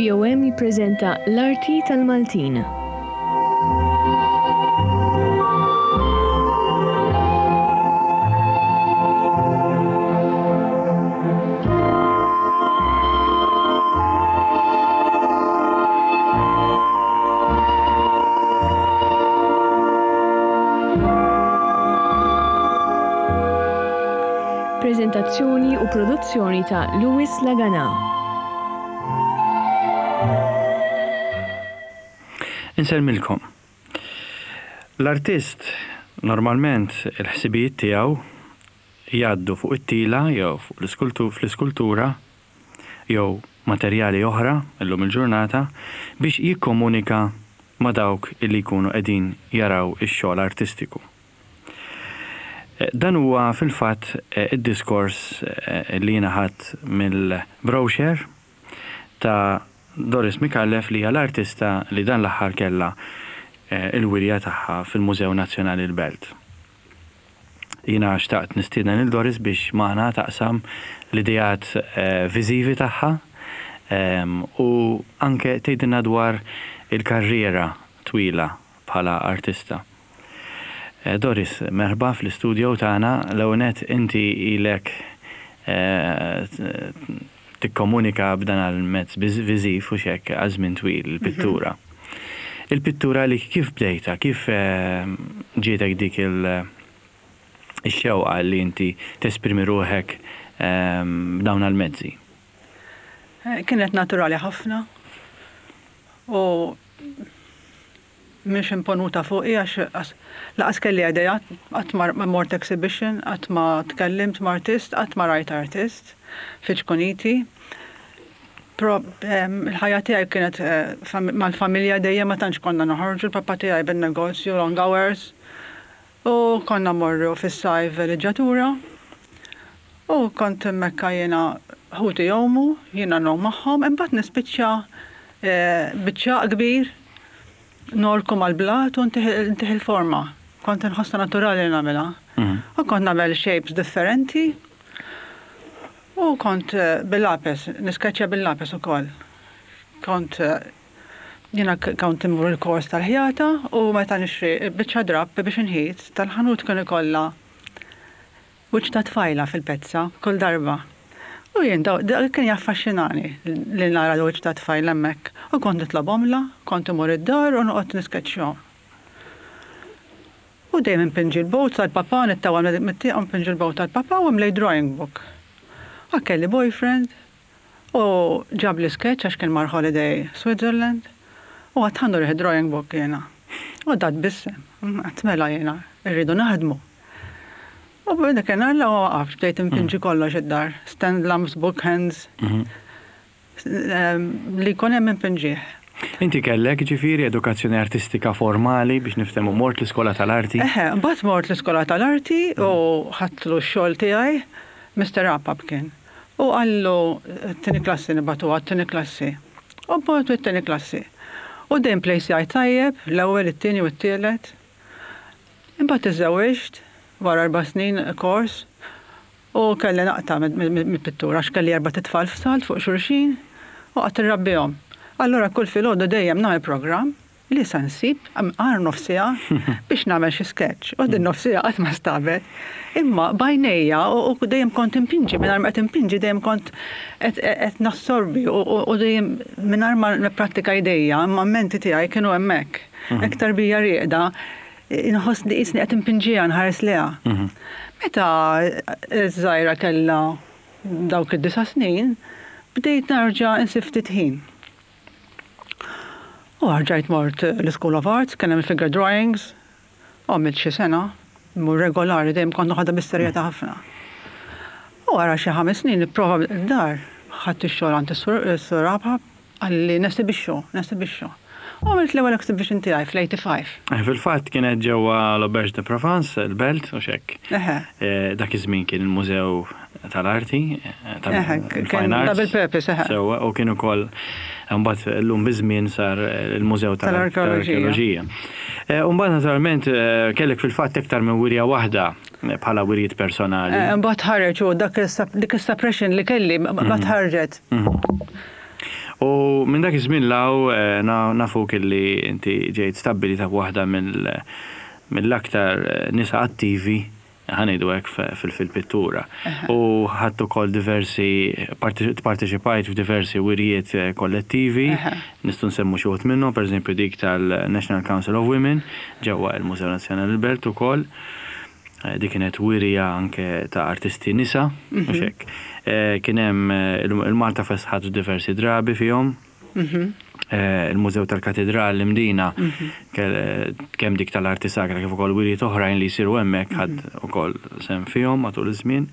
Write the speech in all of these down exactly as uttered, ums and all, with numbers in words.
Radio M jippreżenta L-Arti tal-Maltin. Preżentazzjoni u produzzjoni ta' Louis Lagana. Insellmilkom. L-artist normalment il-ħsibijiet tiegħu jgħaddu fuq it-tila jew fuq fl-iskultura jew materjali oħra illum il-ġurnata biex jikkomunika ma' dawk illi jkunu qegħdin jaraw ix-xogħol artistiku. Dan huwa fil-fatt id-diskors li jiena ħadt mill-brochure ta' Doris Micallef li hija l-artista li dan l-aħħar kellha il-wirja tagħha fil-Mużew Nazzjonali l-Belt. Jiena xtaqt nistieden lil Doris biex magħna taqsam l-ideat viżivi tagħha u anke tgħidilna dwar il-karriera twila bħala artista. Doris, merħba fl-istudio tagħna. L-ewwel nett inti ilek tikkomunika b'dan il-mezz viżiv u xek għal żmien twil il-pittura. Il-pittura li kif bdejta, kif ġietek dik il-xewqa li inti tesprimi ruħek b'dawn il-mezzi? Kienet naturali ħafna u mhix imponuta fuqi għax lanqas kelli idea, qatt ma mort exhibition, qatt ma tkellimt ma' artist, qatt ma rajt artist fi ċkuniti. Però il-ħajja tiegħi kienet mal-familja dejjem ma tantx konna noħorġu, il-papa tiegħi bin-negozju long hours u konna mmorru fis-sajf villeggiatura u kont hemmhekk jiena ħuti jgħumu, jiena ngħum magħhom, imbagħad nispiċċa biċ-ċagħaq kbir norku mal-blat u ntih il-forma. Kont inħossha naturali li nagħmilha. U kont nagħmel shapes differenti u kont bil-lapes, niskeċċja bil-lapes ukoll. Kont jiena kont immur il-kors tal-ħjata u meta nixtri biċċa drapp biex inħit tal-ħanut kien ikollha wiċċ ta' tfajla fil-pezza kull darba. U jien dak kien jaffaxxinani li nara l-wiċċ ta' tfajla hemmhekk. U kont nitlobhomlha, kont imur id-dar u noqgħod niskeċċjahom. U dejjem inpinġi l-boat tal-papa, nittawal mit-tieqa u npinġi l-boat tal-papa u mlejt drawing book. Għax kelli boyfriend u ġabli sketch għax kien mar holiday Switzerland u għedt ħa nurih drawing book jiena. U da tbissem, għedt mela jiena, irridu naħdmu. U dak kien la waqaf, bdejt inpinġi kollox id-dar, stand lamps, book hands, li jkun hemm inpinġih. Inti kellek ġifieri edukazzjoni artistika formali biex niftehmu mort l-iskola tal-arti? Eħe, mbagħad mort l-iskola tal-arti u ħadtlu x-xogħol tiegħi, Mister Apap kien. U qallu t-tieni klassi nibagħtuha t-tieni klassi. U bgħatu t-tieni klassi. U dejjem place tajjeb, l-ewwel, it-tieni u t-tielet. Imbagħad iżżewwiġt wara erba' snin kors u kelli naqta' mill-pittura għax kelli erbat itfal f'salt fuq xulxin u qgħadt irrabbihom. Allura kull filgħodu dejjem nagħmel programm li sa nsib għar nofs siegħa biex nagħmel xi sketch. U din nofs siegħa qatt ma stabet. Imma b'għajnejja u dejjem kont impinġi, mingħajr ma qed impinġi dejjem kont qed nassorbi u dejjem mingħajr ma nipprattika jdejja, imma menti tiegħi kienu hemmhekk. Iktar bija rieqda, inħoss li qisni qed impinġiha nħares lejha. Meta ż-żgħira kellha dawk id-disa' snin, bdejt nerġa' insib ftit ħin. U rġajt mort l-School of Arts, kien hemm figure drawings, u għamilt xi sena, mur regolari dejjem kont noħodha bis-serjetà ħafna. U wara xi ħames snin nipprova d-dar, ħadt ix-xogħol għand is-Sur Apap, qalli nesibixxu, nesibixxu. U għamilt l-ewwel exhibition tiegħi fl-eighty-five. Fil-fatt kienet ġewwa l-Auberge de Provence, il-Belt, u xek. Eħe. Dak iż-żmien kien il-Mużew tal-Arti, tal-Fine Arts. Double purpose, eħe. Sewwa, u kien ukoll mbagħad llum biż-żmien sar il-Mużew tal-Arkeoloġija. U mbagħad naturalment kellek fil-fatt iktar minn wirja waħda bħala wirjiet personali. Mbagħad ħareġ u dak dik is-suppression li kelli mbagħad ħarġet. U minn dak iż-żmien 'l hawn eh, nafuk illi inti ġejt stabbilita waħda mill-aktar eh, nisa attivi, ħa ngħidu hekk, fil-pittura. U ħadt ukoll diversi, parteċipajt f'diversi wirjiet eh, kollettivi, nistgħu nsemmu xi wħud minnhom, pereżempju dik tal-National Council of Women ġewwa il-Mużew Nazzjonali l-Belt ukoll. Eh, dik kienet wirja anke ta' artisti nisa, mhux mhm. hekk. Eh, kien hemm il-Malta Fest, ħadu diversi drabi fihom. Mhm. Il-Mużew tal-Katedral l-Imdina, mhm. kemm dik tal-arti sagra kif ukoll wirjiet oħrajn li jsiru hemmhekk ħadt ukoll sehem fihom matul iż-żmien.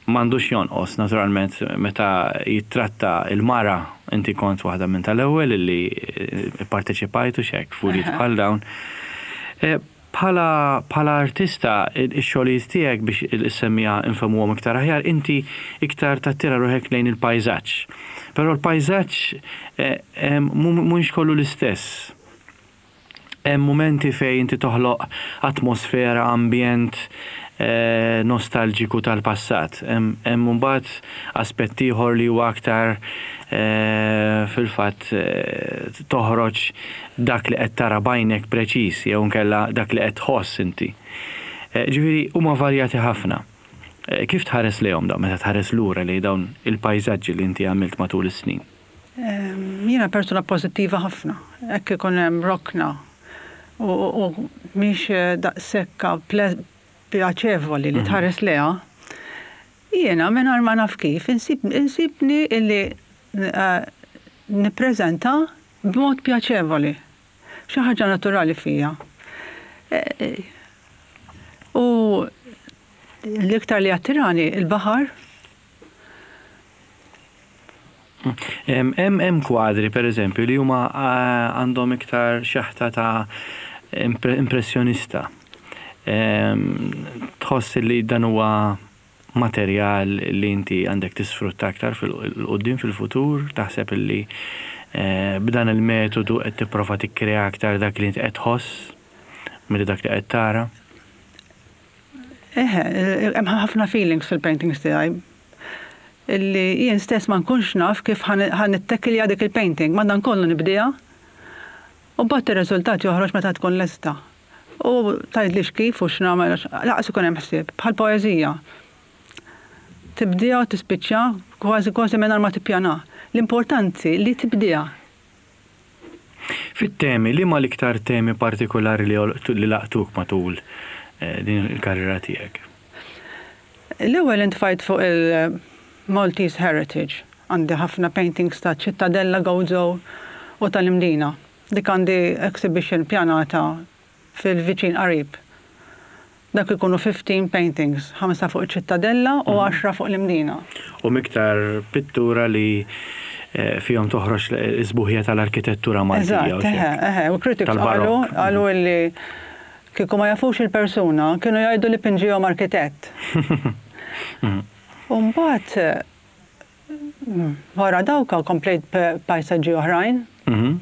M'għandux jonqos, naturalment, meta jittratta il-mara, inti kont waħda minn tal-ewwel li parteċipajtu xek f'wirjiet bħal dawn. Bħala bħala artista, ix-xogħlijiet tiegħek, biex is-semmiegħa nfehmuhom iktar aħjar, inti iktar tattira ruħek lejn il-pajżaġġ. Però l-pajżaġġ eh, mhux kollu l-istess. Hemm momenti fejn inti toħloq atmosfera, ambjent eh, nostalġiku tal-passat. Hemm mbagħad aspett ieħor li huwa aktar eh, fil-fatt toħroġ dak li qed tara b'għajnek preċiż jew nkella dak li qed tħoss inti. Ġifieri huma varjati ħafna. Kif tħares lejhom dawn meta tħares lura li dawn il-pajżaġġi li inti għamilt matul is-snin? Jiena persuna pożittiva ħafna. Hekk ikun hemm rokna u mhix daqshekk pjaċevoli li mhm. tħares lejha. Jiena mingħajr ma naf kif insibni illi eh, nippreżenta b'mod pjaċevoli. Xi ħaġa naturali fija. Eh, eh, u l-iktar li attirani il-baħar. Hemm hemm kwadri, pereżempju, li huma għandhom iktar xeħta ta' impressjonista. Tħoss li dan huwa materjal li inti għandek tisfrutta aktar fil-quddiem, fil-futur, taħseb li eh, b'dan il-metodu qed tipprova tikkrea aktar dak li inti qed tħoss milli dak li qed tara? Eħe, hemm ħafna feelings fil-paintings tiegħi illi jien stess ma nkunx naf kif ħa nittekilja dik il-painting, ma dan kollu nibdija u mbagħad ir-riżultat joħroġ meta tkun lesta. U tgħidlix kif u x'nagħmel, lanqas ikun hemm ħsieb, bħal poeżija. Tibdija u tispiċċa kważi kważi mingħajr ma tippjana. L-importanti li tibdija. Fit-temi, li ma l-iktar temi partikolari li, li laqtuk matul eh, din il-karriera tiegħek? L-ewwel intfajt fuq il-Maltese Heritage. Għandi ħafna paintings ta' Ċittadella, Gozo u tal-Imdina. Dik għandi exhibition pjanata fil-viċin qarib. Dak ikunu ħmistax paintings, ħamsa fuq Ċittadella u għaxra fuq l-Imdina. U iktar pittura li eh, fihom toħroġ is-sbuħija tal-arkitettura Maltija. Eżatt, eħe, eħe, u critics qalu Tal-barokk. Qalu li kieku ma jafux il-persuna, kienu jgħidu li pinġihom arkitett. U mbagħad mm, wara dawka komplejt pajsaġġi oħrajn, Mhm.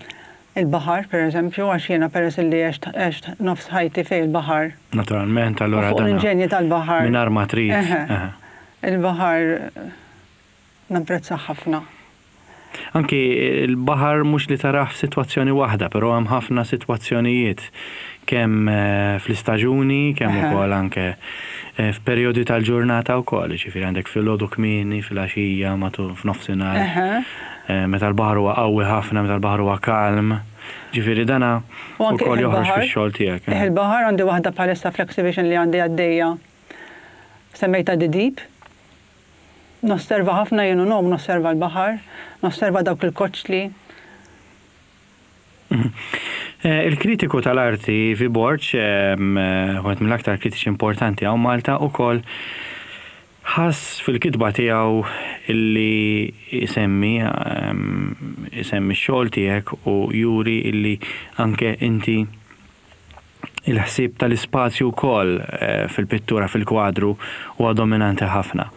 il-baħar per eżempju, għax jiena peress li għext għext nofs ħajti fejn il-baħar. Naturalment, allura U fuq dana l-inġenji tal-baħar. mingħajr ma trid. Eħe. Eħe. Il-baħar eh, napprezza ħafna. Anki il-baħar mhux li tarah f'sitwazzjoni waħda, però hemm ħafna sitwazzjonijiet kemm eh, fl-istaġuni, kemm Eħe. ukoll anke eh, f'perjodi tal-ġurnata wkoll, ġifieri għandek filgħodu kmieni, filgħaxija, matul f'nofsinhar. Eħe. Eh, meta l-baħar huwa qawwi ħafna, meta l-baħar huwa kalm. Ġifieri dana U anke ukoll joħroġ il-baħar. fix-xogħol tiegħek. eh. Il-baħar, għandi waħda bħalissa fl-exhibition li għandi għaddejja. Semmejta The Deep. Nosserva ħafna jien u nom, nosserva l-baħar, nosserva dawk il-koċli. Eh, Il-kritiku tal-arti Ivi Borg, ehm, eh, wieħed mill-aktar kritiċi importanti hawn Malta, ukoll ħass fil-kitba tiegħu illi isemmi ehm, isemmi x-xogħol tiegħek u juri illi anke inti il-ħsieb tal-ispazju wkoll eh, fil-pittura, fil-kwadru, huwa dominanti ħafna.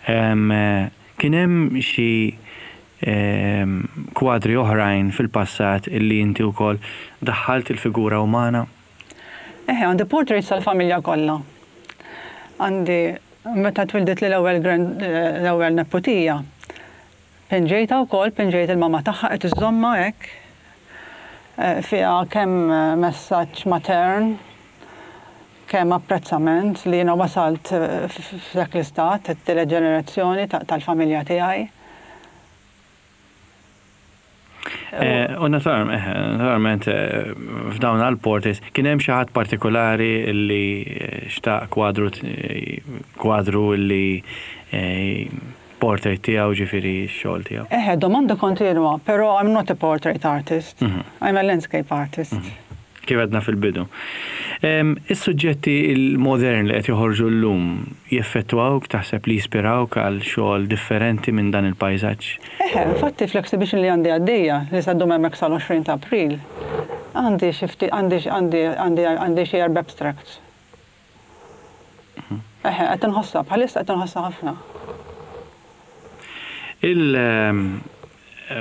Ehm, eh, Kien hemm xi ehm, kwadri oħrajn fil-passat illi inti wkoll daħħalt il-figura umana? Eħe, għandi portraits tal-familja kollha. Għandi meta twildet li l-ewwel grand- eh, l-ewwel neputija. Pinġejtha wkoll, pinġejt il-mama tagħha qed iżżommha hekk. Eh, fiha kemm eh, messaġġ matern, kemm apprezzament li jiena wasalt eh, f'dak l-istat, it-tielet ġenerazzjoni tal-familja tiegħi. U naturalment f'dawn għal-portraits kien hemm xi ħadd partikolari li xtaq kwadru kwadru li portrait tiegħu, ġifieri x-xogħol tiegħu. Eħe, domanda kontinwa, però I'm not a portrait artist. I'm a landscape artist. Kif għedna fil-bidu. Is-suġġetti il-modern li qed joħorġu llum jeffettwawk, taħseb li jispirawk għal xogħol differenti minn dan il-pajsaġġ? Eħe, infatti fl-exhibition li għandi għaddejja, li se ddum hemmhekk sal-għoxrin ta' April, għandi xi ftit, għandi għandi għandi għandi xi erba' abstracts. Eħe, qed inħossha, bħalissa qed inħossha ħafna. Il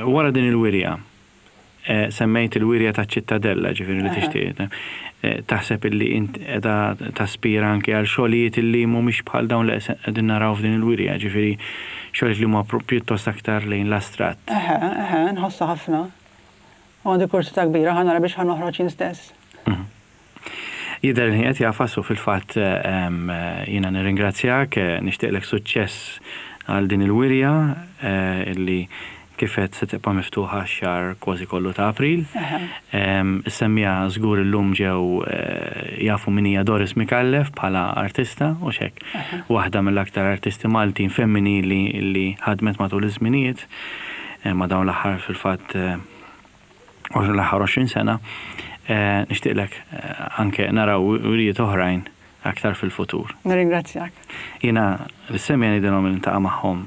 wara din il-wirja, semmejt il-wirja ta' Ċittadella, ġifieri li tixtieq. Taħseb illi int qiegħda taspira anke għal xogħlijiet illi mhumiex bħal dawn li qegħdin naraw f'din il-wirja, ġifieri xogħlijiet li huma pjuttost aktar lejn l-astratt. Eħe, eħe, nħossha ħafna. U għandi kursità kbira ħa nara biex ħa noħroġ jien stess. Jidher li qed jafas u fil-fatt jiena nirringrazzjak, nixtieqlek suċċess għal din il-wirja illi kif qed se tibqa' miftuħa x-xahar kważi kollu ta' April. Is-semmiegħa żgur illum ġew jafu min hija Doris Micallef bħala artista u xek. Waħda mill-aktar artisti Maltin femminili li ħadmet matul iż-żminijiet ma' dawn l-aħħar fil-fatt l-aħħar għoxrin sena. Nixtieqlek anke naraw wirijiet oħrajn aktar fil-futur. Nirringrazzjak. Jiena l-semmiegħa ngħidilhom li niltaqa' magħhom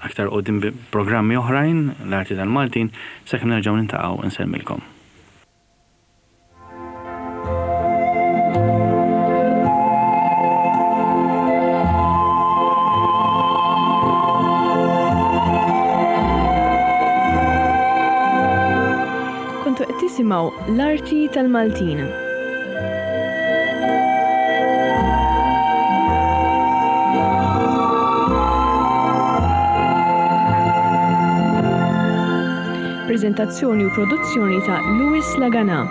aktar qudiem bi programmi oħrajn l-arti tal-Maltin, sakemm nerġgħu niltaqgħu nsellmilkom. Kontu qed tisimgħu l-arti tal-Maltin. Prezentazzjoni u produzzjoni ta' Louis Lagana.